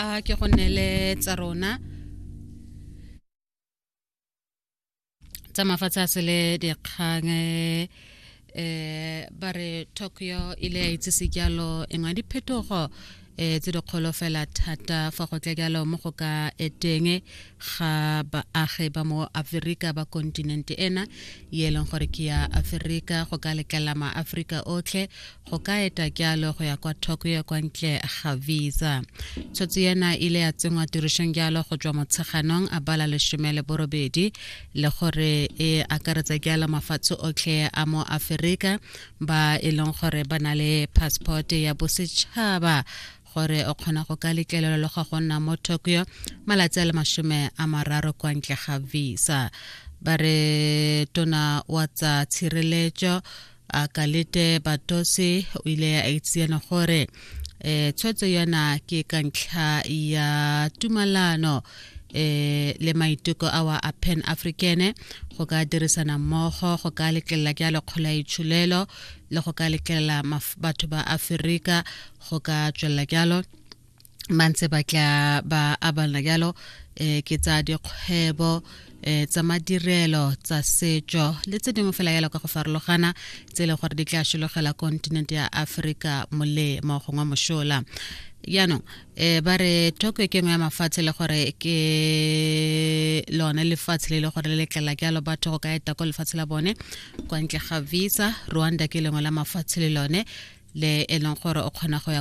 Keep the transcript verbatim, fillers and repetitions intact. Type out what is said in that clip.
A ke go neele tsa rona tsa mafatshe a sele dikgang. eh ba re Tokyo ile ya itsise jalo engwe diphetogo eh tse dikgolo fela thata fa go tla jalo mo go ka eteng ga baagi ba mo Aforika ba kontinente ena ye e leng gore ke ya Aforika, go ka letlela maAforika otlhe go ka eta jalo go ya kwa Tokyo kwa ntle ga visa. Tshwetso ena ile ya tsenngwa tirisong jalo go tswa Motsheganong a bala lesome le borobedi, le gore e akaretsa jalo mafatshe otlhe a mo Aforika ba e leng gore ba na le passport ya bosetšhaba, gore o kgona go ka letlelelwa le go nna mo Tokyo malatsi a le masome a mararo kwa ntle ga visa. Ba re tona wa tsa tshireletso a Kalete Batosi o ile a itseana gore eh tshwetso yona ke ka ntlha ya tumalano eh le maiteko a wa a Pan African go ka dirisana mmogo go ka letlelela ke a lekgolo ya itsholelo le go ka letlelela batho ba Aforika go ka tswelela jalo ba ntse ba tla ba abana jalo eh ke tsa dikgwebo, eh tsa madirelo, tsa setso le tse dingwe fela jalo ka go farologana tse e leng gore di tla sologela kontinente ya Aforika molemo gongwe mosola. Jaanong eh ba re Tokyo ke nngwe ya mafatshe le gore ke lone lefatshe le le gore le letlela jalo batho go ka eta ko lefatshe la bone kwa ntle ga visa. Rwanda ke lengwe la mafatshe le lone le e leng gore o kgona go ya